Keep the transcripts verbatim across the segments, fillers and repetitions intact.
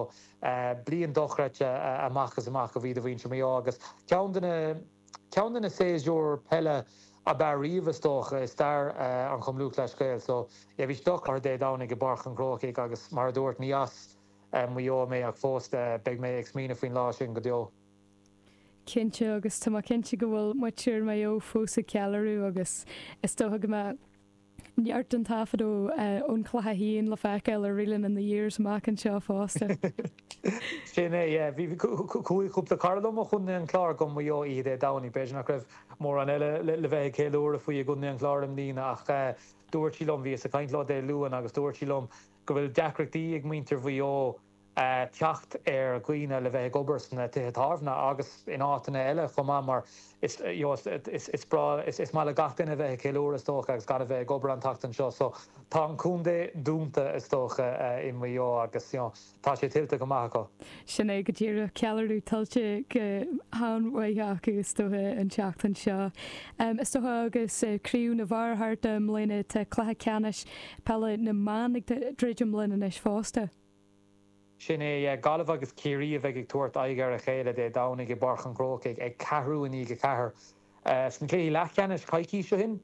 So bliain dochreidte amach is amach a bhí do mhuintir Mhaigh Eo agus ceann de na ceann de na séasúir peile ab fhearr riamh, is dócha, i stair an Chumann Lúthchleas Gael. So yeah, bhí sé dochreidte Dé Domhnaigh i bPáirc an Chrócaigh agus, mar a dúirt, ní as Maigh Eo mé ach fós beidh mé ag smaoineamh faoin lá sin go deo. Cinnte, agus tá cinnte go bhfuil muintir Mhaigh Eo fós ag ceiliúradh agus is dócha go mbeidh neart an taifead ón chluiche féin le feiceáil ar Reelin' in the Years amach anseo fosta. Sin é, bhí cúpla cara liom ó Chontae an Chláir go Maigh Eo oíche Dé Domhnaigh. B'fhéidir nach raibh mórán eile le bheith ag ceiliúradh faoi i gContae an Chláir i mbliana, ach dúirt sí liom, bhíos ag caint leo Dé Luain agus dúirt sí liom go bhfuil deacrachtaí ag muintir Mhaigh Eo teacht ar dhaoine le bheith ag obair sna tithe tábhairne agus in áiteanna eile chomh maith, mar is is breá is maith le gach duine bheith ag ceiliúradh, is dócha, agus gan a bheith ag obair an tseachtain seo. So tá an contae dúnta, is dócha, i Maigh Eo agus you know, tá sé tuillte go maith acu. Sin é go díreach, ceiliúradh tuillte go han-mhaith acu, is dócha, an tseachtain seo. Is dócha, agus craobh na bhfear thart i mbliana, tá cluiche ceannais peile na mban ag druidim linn anois fosta. Sin é, Gaillimh agus Ciarraí a bheidh ag tabhairt aghaidh ar a chéile Dé Domhnaigh i bPáirc an Chrócaigh ag ceathrú i ndiaidh a ceathair. Sna cluichí leathcheannais coicís ó shin,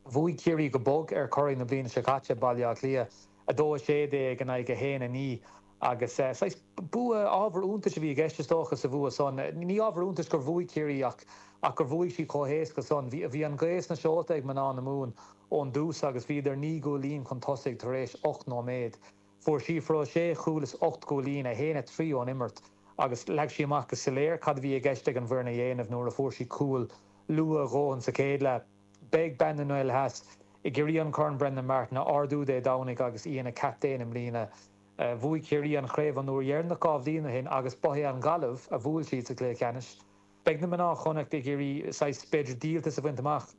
bhuaigh Ciarraí go bog ar churaidh na bliana seo caite, Baile Átha Cliath, a dó a sé déag in aghaidh a haon a naoi, agus saghas bua ábhar iontais a bhí i gceist, is dócha, sa bhua san. Ní ábhar iontais gur bhuaigh Ciarraí ach ach gur bhuaigh siad chomh héasca san. Bhí an ghaoth sna seolta ag mná na Mumhan ón dtús agus bhíodar naoi gcúilín chun tosaigh tar éis ocht nóiméad. Fuair Síofra O'Shea cúl is ocht gcúilín, a haon a trí ón imirt, agus leag sí amach go soiléir cad a bhí i gceist ag an bhfoireann a dhéanamh nuair a fuair sí cúl luath a dhóthain sa chéad leath. Beidh bean na nGael Theas ag iarraidh an Corn Brendan Martin a ardú Dé Domhnaigh agus í ina captaen i mbliana. Bhuaigh Ciarraí an chraobh an uair dheireanach dhá bhliain ó shin agus ba é an Ghaillimh a bhuail siad sa chluiche ceannais. Beidh na mná Chonnacht ag iarraidh saghas, b'fhéidir, díoltas a bhaint amach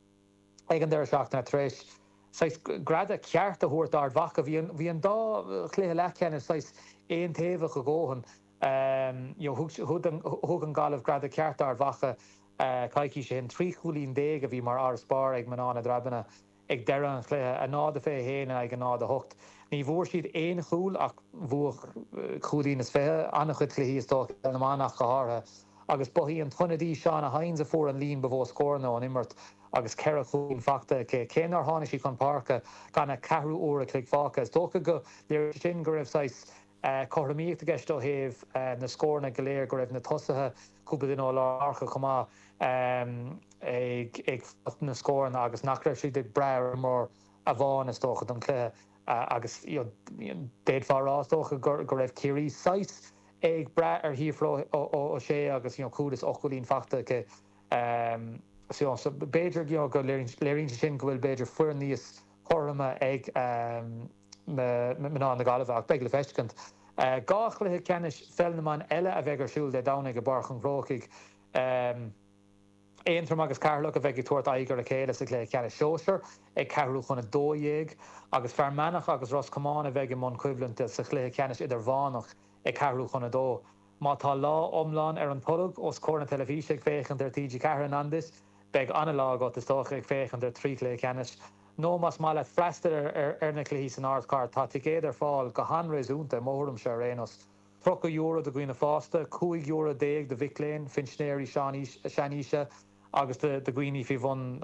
ag an deireadh seachtaine tar éis saghas greadadh ceart a thabhairt d'Ard Mhacha. Bhí an bhí an dá chluiche leathcheannais saghas aontaobhach a dhóthain. You know, thug an thug an Ghaillimh greadadh ceart d'Ard Mhacha coicís ó shin. Trí chúilín déag a bhí mar fharasbarr ag mná na dTreabhanna ag deireadh an chluiche, a náid a fiche haon in aghaidh a náid a hocht. Ní bhfuair siad aon chúl ach bhuadh cúilín is fiche, an-chuid cluichí, is dócha, na mban ach go háirithe, agus ba í an t-ionadaí Shauna Hynes a fuair an líon ba mhó scóranna ón imirt agus ceithre chúilín faighte aici, cé nár tháinig sí chun páirce gan ach ceathrú uair a chloig fágtha. Is dócha go léiríonn sin go raibh saghas cothromaíocht i gceist ó thaobh na scóranna go léir, go raibh na tosaithe, cúpla duine ó lár páirce chomh maith, ag ag fáil na scóranna agus nach raibh siad ag brath ar imreoir amháin, is dócha, don chluiche. Agus d'fhéadfá a rá, is dócha, go raibh Ciarraí saghas ag brath ar Shíofra O'Shea agus you know, cúl is ocht gcúilín faighte aici. So so b'fhéidir you know, go léiríonn sé sin go bhfuil, b'fhéidir, foireann níos cothroime ag mná na Gaillimhe, ach beidh le feiscint. Dhá chluiche ceannais pheil na mban eile a bheidh ar siúl Dé Domhnaigh i bPáirc an Chrócaigh. Aontroim agus Ceatharlach a bheidh ag tabhairt aghaidh ar a chéile sa chluiche ceannais sóisir ag ceathrú chun a dó dhéag, agus Fear Manach agus Ros Comáin a bheidh i mbun coimhlinte sa chluiche ceannais idirmheánach ag ceathrú chun a dó. Má tá lá iomlán ar an tolg os comhair na teilifíse ag féachaint ar T G Ceathair in ann duit, beidh an-lá agat, is dócha, ag féachaint ar trí chluiche ceannais. Nó más maith leat freastal ar na cluichí san ardchathair, tá ticéid ar fáil go han-réasúnta, i mo thuairimse ar aon nós. tríocha euro do dhaoine fásta, cúig euro déag do mhic léinn, phinsinéirí seanaoise agus do dhaoine faoi bhun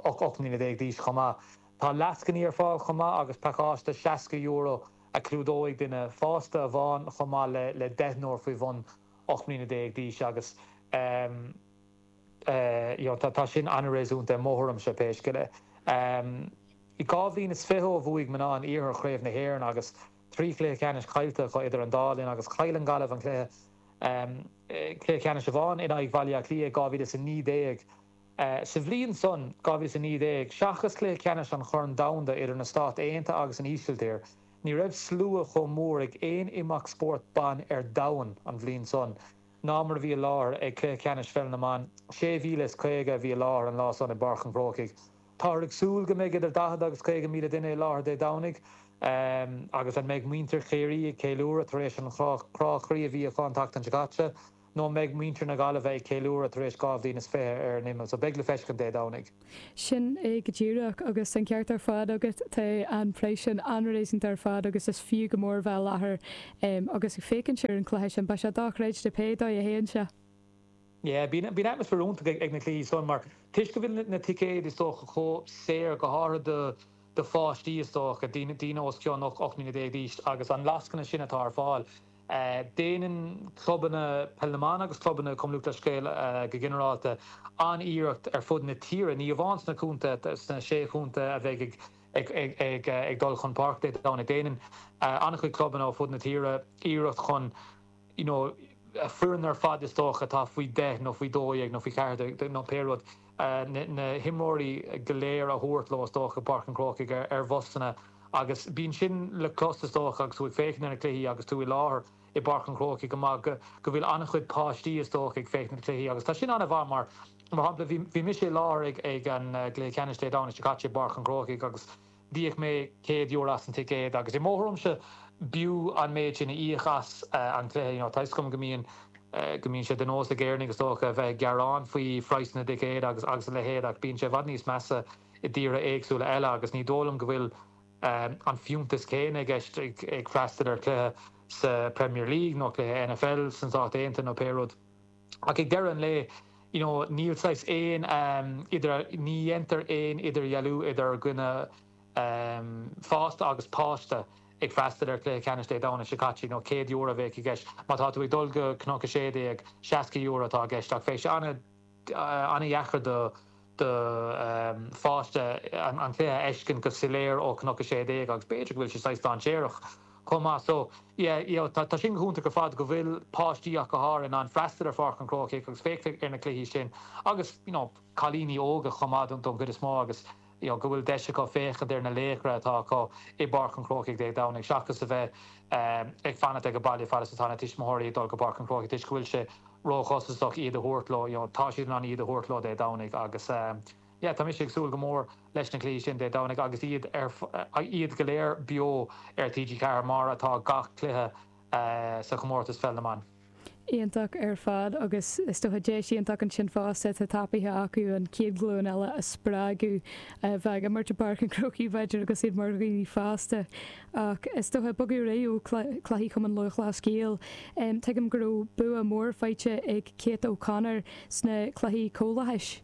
ocht mbliana déag d'aois chomh maith. Tá lascainí ar fáil chomh maith agus pacáiste seasca euro a chlúdóidh duine fásta amháin chomh maith le deichniúr faoi bhun ocht mbliana déag d'aois agus tá sin an-réasúnta i mo thuairimse, pé scéal é. Dhá bhliain is fiche ó bhuaigh mná an Iarthair Chraobh na hÉireann agus trí chluiche ceannais caillte acu idir an dá linn, agus chaill an Ghaillimh an cluiche cluiche ceannais amháin in aghaidh Bhaile Átha Cliath dhá mhíle is a naoi déag. Sa bhliain san, dhá mhíle is a naoi déag, seachas cluiche ceannais an Chorn Domhanda idir na Stáit Aontaithe agus an Ísiltír, ní raibh slua chomh mór ag aon imeacht spóirt ban ar domhan an bhliain san ná mar a bhí i láthair ag cluiche ceannais pheil na mban. sé mhíle is caoga a bhí i láthair an lá san i bPáirc an Chrócaigh. Táthar ag súil go mbeidh idir daichead agus caoga míle duine i láthair Dé Domhnaigh, agus an mbeidh muintir Chiarraí ag ceiliúradh tar éis an chrá croí a bhí acu an tseachtain seo caite, nó an mbeidh muintir na Gaillimhe ag ceiliúradh tar éis dhá bhliain is fiche ar an imeall. So beidh le feiscint Dé Domhnaigh. Sin é go díreach agus an ceart ar fad agat tá an praghas sin an-réasúnta ar fad agus is fiú go mór bheith i láthair agus ag féachaint ar an cluiche sin. Beidh sé dochreidte pé dóigh a théann sé. Yeah, bíonn bíonn atmaisféar iontach ag na cluichí san mar toisc go bhfuil na ticéid is dócha chomh saor go háirithe do do pháistí is dócha, daoine daoine os cionn ocht mbliana déag d'aois agus an lascaine sin atá ar fáil. Déanann clubanna Peil na mBan agus clubanna Cumann Lúthchleas Gael go ginearálta an-iarracht ar fud na tíre, ní amháin sna contaetha, sna sé chontae a bheidh ag ag ag dul chun páirce Dé Domhnaigh. Déanann an-chuid clubanna ó fud na tíre iarracht chun you know a foireann ar fad is dócha atá faoi deich nó faoi dó dhéag nó faoi cheathair déag nó pé rud, na himreoirí go léir a thabhairt leo is dócha go Páirc an Chrócaigh ar bhusanna agus bíonn sin le clos is dócha agus tú ag féachaint ar na cluichí agus tú i láthair i bPáirc an Chrócaigh go maith go go bhfuil an-chuid páistí is dócha ag féachaint na cluichí agus tá sin an-mhaith mar mar shampla bhí bhí mise i láthair ag ag an gcluiche ceannais Dé Domhnaigh seo caite i bPáirc an Chrócaigh agus d'íoc mé céad euro as an ticéad agus i mo thuairimse b'fhiú an méid sin a íoc as an cluiche. You know, tá 'fhios agam go mbíonn go mbíonn sé de nós ag Éireannaigh is dócha a bheith ag gearán faoi phraghsanna na dticéad agus agus a leithéid ach bíonn sé i bhfad níos measa i dtíortha éagsúla eile agus ní dóigh liom go bhfuil an fiúntas céanna i gceist ag ag freastal ar chluiche sa Premier League nó cluiche N F L sna Stáit Aontaithe nó pé rud. Ach ag deireadh an lae, you know, níl saghas aon idir ní dhéantar aon idirdhealú idir dhuine fásta agus páiste ag freastal ar chluiche ceannais Dé Domhnaigh seo caite, nó céad euro a bheadh i gceist. Má tá tú ag dul go Cnoc a sé déag, seasca euro atá i gceist ach bheadh sé an-deacair do do pháiste an cluiche a fheiscint go soiléir ó Cnoc a sé déag agus b'fhéidir go bhfuil sé saghas dainséarach chomh maith. So, yeah, you know, tá sin go hiontach ar fad go bhfuil páistí ach go háirithe in ann freastal ar Pháirc an Chrócaigh agus féachaint ar na cluichí sin agus, you know, cailíní óga chomh maith don gcuid is mó agus, you know, go bhfuil deis acu féachaint ar na laochra atá acu i bPáirc an Chrócaigh Dé Domhnaigh seachas a bheith ag fanacht ag baile fad is atá na tuismitheoirí ag dul go Páirc an Chrócaigh toisc go bhfuil sé róchostasach iad a thabhairt leo, you know, tá siad in ann iad a thabhairt leo Dé Domhnaigh agus yeah, tá mise ag súil go mór leis na cluichí sin Dé Domhnaigh agus iad ar iad go léir beo ar T G Ceathair mar atá gach cluiche sa chomórtas Pheil na mBan. Iontach ar fad agus is dócha deis iontach ansin fosta atá tapaithe acu an chéad ghlúin eile a spreagadh a bheith ag imirt i bPáirc an Chrócaigh b'fhéidir agus iad mar dhaoine fásta. Ach is dócha bogadh ar aghaidh ó chluichí Chumann Lúthchleas Gael. Tuigim go raibh bua mór faighte ag Kate O'Connor sna cluichí comhlathais.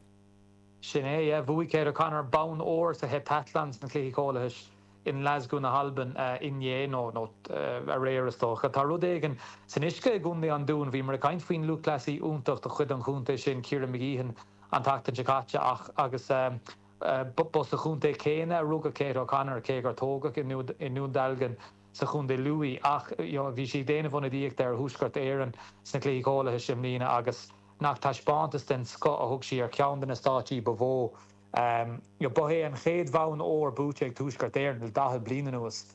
Sin é, yeah, bhuaigh Kate O'Connor bonn óir sa heptathlon sna cluichí comhlathais i nGlasgow na hAlban inné nó nó aréir is dócha. Tá rud éigin san uisce i gContae an Dúin, bhíomar ag caint faoin lúthchleasaí iontach de chuid an chontae sin Ciara Mageean an tseachtain seo caite ach agus ba sa chontae céanna a rugadh Kate O'Connor cé gur tógadh i nDún Dealgan sa chontae Lú í ach bhí sí ag déanamh ionadaíocht ar Thuaisceart Éireann sna cluichí comhlathais i mbliana agus nach taispeántas den scoth a thug sí ar cheann de na stáitsí ba mhó. Ba é an chéad bhonn óir buaite ag Tuaisceart Éireann le daichead bliain anuas.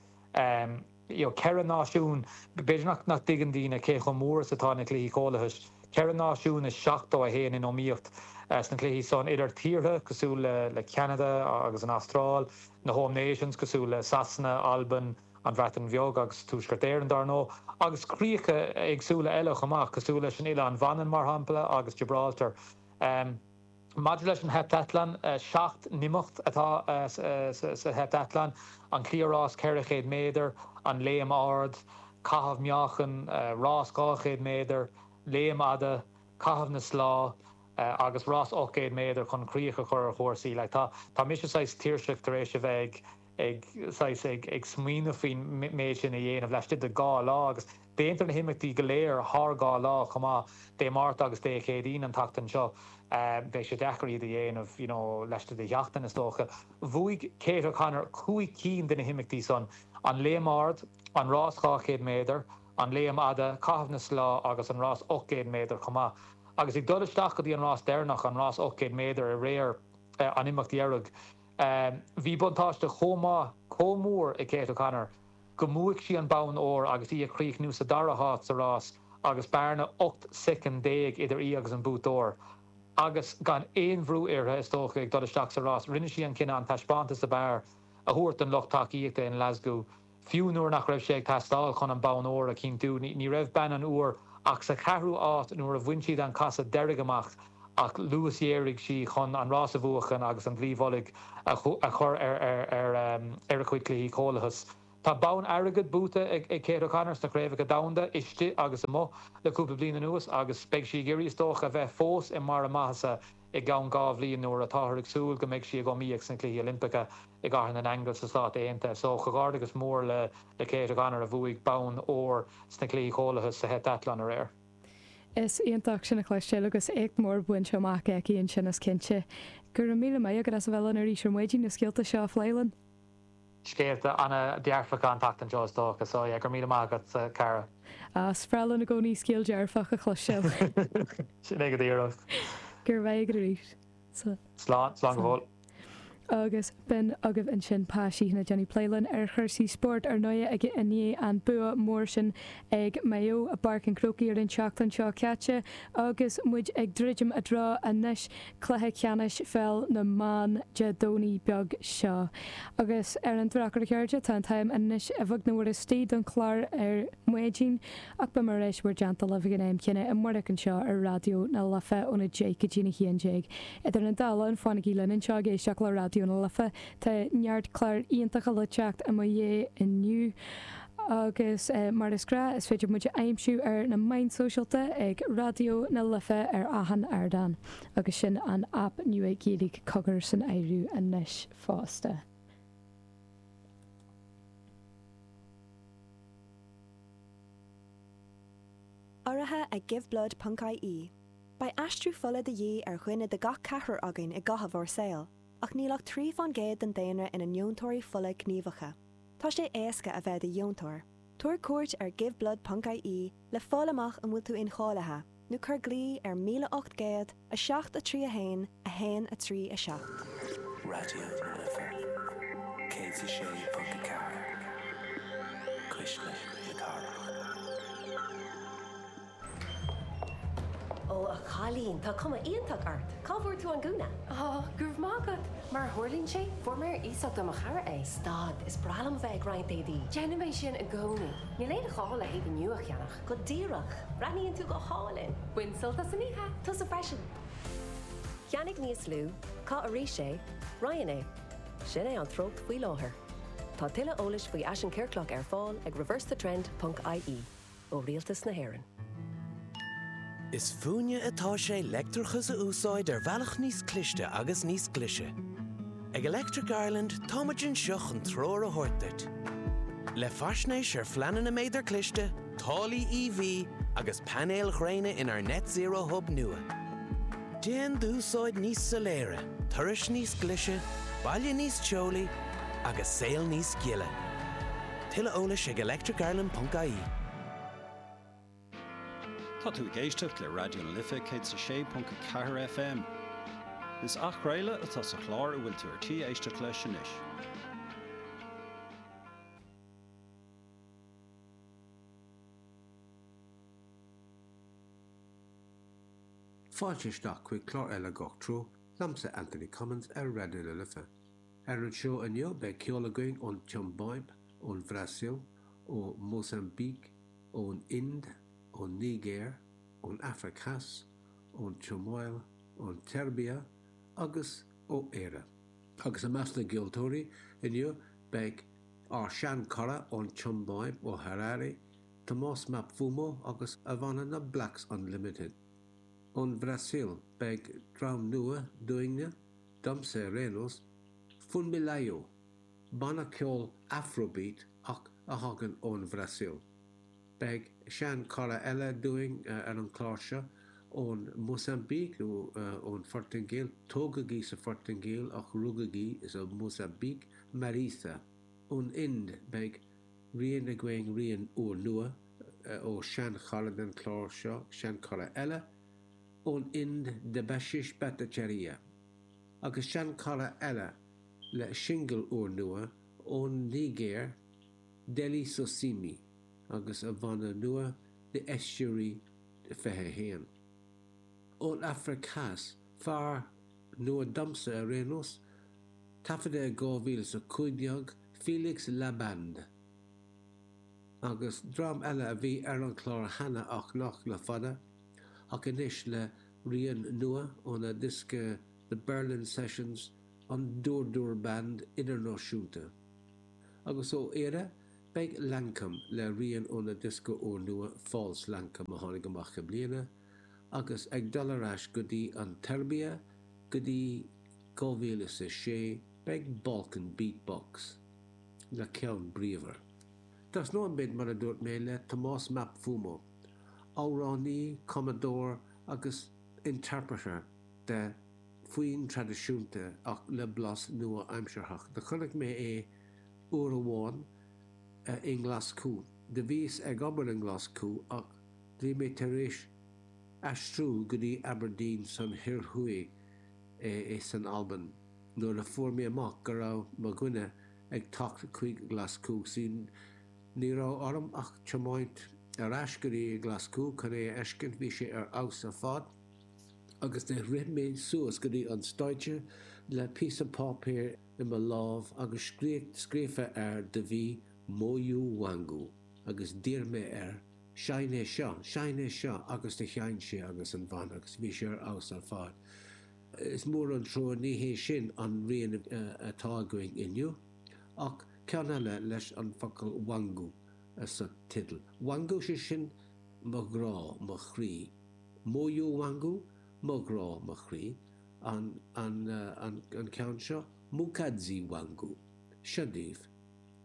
Ceithre náisiún, b'fhéidir nach nach dtuigeann daoine cé chomh mór is atá na cluichí comhlathais. Ceithre náisiún is seachtó a haon in iomaíocht sna cluichí san idir tíortha cosúil le le Ceanada agus an Astráil, na Home Nations cosúil le Sasana, Albain, an Bhreatain Bheag agus Tuaisceart Éireann dar ndóigh, agus críocha éagsúla eile chomh maith cosúil leis an Oileán Mhanann mar shampla agus Gibraltar. Maidir leis an heptathlon, seacht n-imeacht atá sa heptathlon, an cliathrás ceithre chéad méadar, an léim ard, caitheamh meáchain, rás dhá chéad méadar, léim fhada, caitheamh na slá agus rás ocht gcéad méadar chun críoch a chur ar chúrsaí. Like tá tá mise saghas tuirseach tar éis a bheith ag ag saghas ag ag smaoineamh faoin méid sin a dhéanamh laistigh de dhá lá agus déantar na himeachtaí go léir thar dhá lá chomh maith Dé Máirt agus Dé Céadaoin an tseachtain seo. Beidh sé deacair iad a dhéanamh you know laistigh de sheachtain is dócha. Bhuaigh Kate O'Connor cúig cinn de na himeachtaí san, an léim ard, an rás dhá chéad méadar, an léim fhada, caitheamh na slá agus an rás ocht gcéad méadar chomh maith. Agus ag dul isteach go dtí an rás deireanach, an rás ocht gcéad méadar aréir an imeacht dheiridh, bhí buntáiste chomh maith, chomh mór ag Kate O'Connor go mbuaigh sí an bonn óir agus í ag críochnú sa dara háit sa rás agus bearna ocht soicind déag idir í agus an buaiteoir. Agus gan aon bhrú uirthi is dócha ag dul isteach sa rás, rinne sí an cinneadh an taispeántas ab fhearr a thabhairt don lucht tacaíochta in Glasgow Fiú nuair nach raibh sé ag teastáil chun an bonn óir a chinntiú, ní raibh bean an Iúir ach sa cheathrú háit nuair a bhain siad an casadh deiridh amach ach luasghéaraigh sí chun an rás a bhuachan agus an dlaoi mhullaigh a chur ar a cuid cluichí Comhlathais. Tá bonn airgid buaite ag Kate O'Connor sna craobhacha domhanda istigh agus amuigh le cúpla bliain anuas agus beidh sí ag iarraidh is dócha a bheith fós i mbarr a maitheasa i gceann dhá bhliain nuair atáthar ag súil go mbeidh sí ag iomaíocht sna Cluichí Oilimpeacha i gCathair na nAingeal sna Stáit Aontaithe. So comhghairdeachas mór le le Kate O'Connor a bhuaigh bonn óir sna Cluichí Comhlathais sa heptathlon aréir. Is iontach sin a chloisteáil agus éacht mór bainte amach aici ansin is cinnte. Go raibh míle maith agat as a bheith linn arís ar maidin na scéalta seo a phlé linn. Scéalta an-dearfacha an tseachtain seo is dócha, so yeah, go raibh míle maith agat a chara. Is breá linn i gcónaí scéal dearfach a chloisteáil. Sin é go díreach. Go raibh maith agat arís. Slán, slán go fóill. Agus b'in agaibh ansin Pa Sheehan ag déanamh plé linn ar chúrsaí spóirt ar ndóigh ag i ndiaidh an bua mór sin ag Maigh Eo i bPáirc an Chrócaigh ar an tseachtain seo caite agus muid ag druidim i dtreo anois cluiche ceannais pheil na mban Dé Domhnaigh beag seo. Agus ar an drochuair a chairde tá an t-am anois a bheag nó a mhór istigh don chlár ar maidin ach beidh mé ar ais bhur dteannta libh ag an am céanna amárach anseo ar Raidió na Life óna deich go dtí a haon déag. Idir an dá linn fanaigí linn anseo ag éisteacht le Raidió na Life. Tá neart clár iontacha le teacht i mo dhiaidh inniu. Agus eh, mar is gnách is féidir muid a aimsiú ar na meáin sóisialta ag Raidió na Life ar achan ardán, agus sin an aip nua Gaeilge Cogar san áireamh anois fosta. Urraithe ag Giveblood ponc ie. Beidh aistriú fola de dhíth ar dhuine de gach ceathrar againn i gcaitheamh ár saoil, ach níl ach trí faoin gcéad den daonra ina ndeontóirí fola gníomhacha. Tá sé éasca a bheith i do dheontóir. Tabhair cuairt ar giveblood ponc ie le fáil amach an bhfuil tú incháilithe, nó cuir glao ar míle ocht gcéad, a seacht a trí a haon, a haon a trí a seacht. Raidió na Life céad a sé ponc a ceathair, Cuisle na Cathrach. Ó, a chailín, tá cuma iontach ort. Cá bhfuair tú an gúna? Ó, go raibh maith agat. Mar a tharlaíonn sé, fuair mé ar iasacht ó mo chara é. Stad, is breá liom a bheith ag roinnt éadaí. Déanaim é sin i gcónaí. Níl aon ghá le héadaí nua a cheannach. Go díreach. Breathnaíonn tú go hálainn. Bain sult as an oíche. Tusa freisin. Ceannaigh níos lú, caith arís é, roinn é. Sin é an treocht faoi láthair. Tá tuilleadh eolais faoi fhaisean ciorclach ar fáil ag reversethetrend ponc ie ó Rialtas na hÉireann. Is fúinne atá sé leictreachas a úsáid ar bhealach níos cliste agus níos glaise. Ag Electric Ireland táimid anseo chun treoir a thabhairt duit. Le faisnéis ar phleananna méadar cliste, táillí E V agus painéil ghréine inár Net Zero Hub nua. Déan d'úsáid níos soiléire, turais níos glaise, baile níos teolaí agus saol níos gile. Tuilleadh eolais ag electricireland ponc ie. Tá tú ag éisteacht le Raidió na Life céad a sé ponc a ceathair F M. Is athchraoladh atá sa chlár a bhfuil tú ar tí éisteacht leis anois. Fáilte isteach chuig clár eile Gach Treo, liomsa Anthony Cummins ar Raidió na Life. Ar an seó inniu beidh ceol againn ón tSiombáib, ón Bhrasaíl, ó Mhósaimbíc, ón Ind, ón Nigéir, ón Afraic Theas, ón tSomáil, ón tSeirbia agus ó Éire. Agus i measc na gceoltóirí inniu beidh ár seanchara ón tSiombáib ó Harare, Tomás Mapfumo agus a bhanna na Blacks Unlimited. Ón Bhrasaíl beidh dream nua dúinne, domsa ar aon nós, Funmilayo, banna ceoil Afrobeat ach a thagann ón Bhrasaíl. Beidh seanchara eile dúinn ar an chlár seo ón Mhósaimbíc nó ón Phortaingéil, tógadh í sa Phortaingéil ach rugadh í sa Mhósaimbíc, Marisa. Ón Ind beidh rian againn rian úrnua ó seanchara den chlár seo, seanchara eile ón Ind Debashish Bhattacharya. Agus seanchara eile le singil úrnua ón Nigéir, Dele Sosimi agus a bhanna nua The Estuary fiche a haon. Ón Afraic Theas, fear nua domsa ar aon nós, taifeadta i dhá mhíle is a cúig déag, Felix Laband. Agus dream eile a bhí ar an chlár cheana ach nach le fada, ach anois le rian nua óna diosca The Berlin Sessions an Dur Dur Band Idirnáisiúnta. Agus ó Éire beidh Lankum le rian óna diosca úrnua False Lankum a tháinig amach i mbliana, agus ag dul ar ais go dtí an tSeirbia go dtí dhá mhíle is a sé beidh Balkan Beat Box le ceann bríomhar. Tosnóidh muid mar a dúirt mé le Tomás Mapfumo, amhránaí, cumadóir agus interpreter de foinn traidisiúnta ach le blas nua-aimsearthach. Do chonaic mé é uair amháin i nGlaschú. Do bhíos ag obair i nGlaschú ach bhí mé tar éis aistriú go dtí Aberdeen san Thoir Thuaidh san Albain nuair a fuair mé amach go raibh mo dhuine ag teacht chuig Glaschú. Ní raibh orm ach tiomáint ar ais go dtí Glaschú chun é a fheiscint, bhí sé ar fheabhas ar fad, agus do rith mé suas go dtí an stáitse le píosa páipéir i mo lámh agus scríofa air do bhí Moyo Wangu agus d'iarr mé air seinn é seo, seinn é seo agus do sheinn sé agus an bhanna agus bhí sé ar fheabhas ar fad. Is mór an trua ní hé sin an rian atá againn inniu ach ceann eile leis an focal Wangu sa teideal. Wangu sé sin mo ghrá, mo chroí. Moyo Wangu, mo ghrá, mo chroí. An, an, an, an ceann seo, Mukadzi Wangu. Seo daoibh,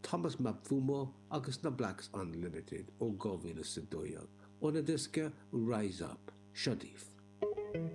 Thomas Mapfumo agus na Blacks Unlimited ó dhá mhíle is a dó dhéag. Óna diosca Rise Up. Seo daoibh.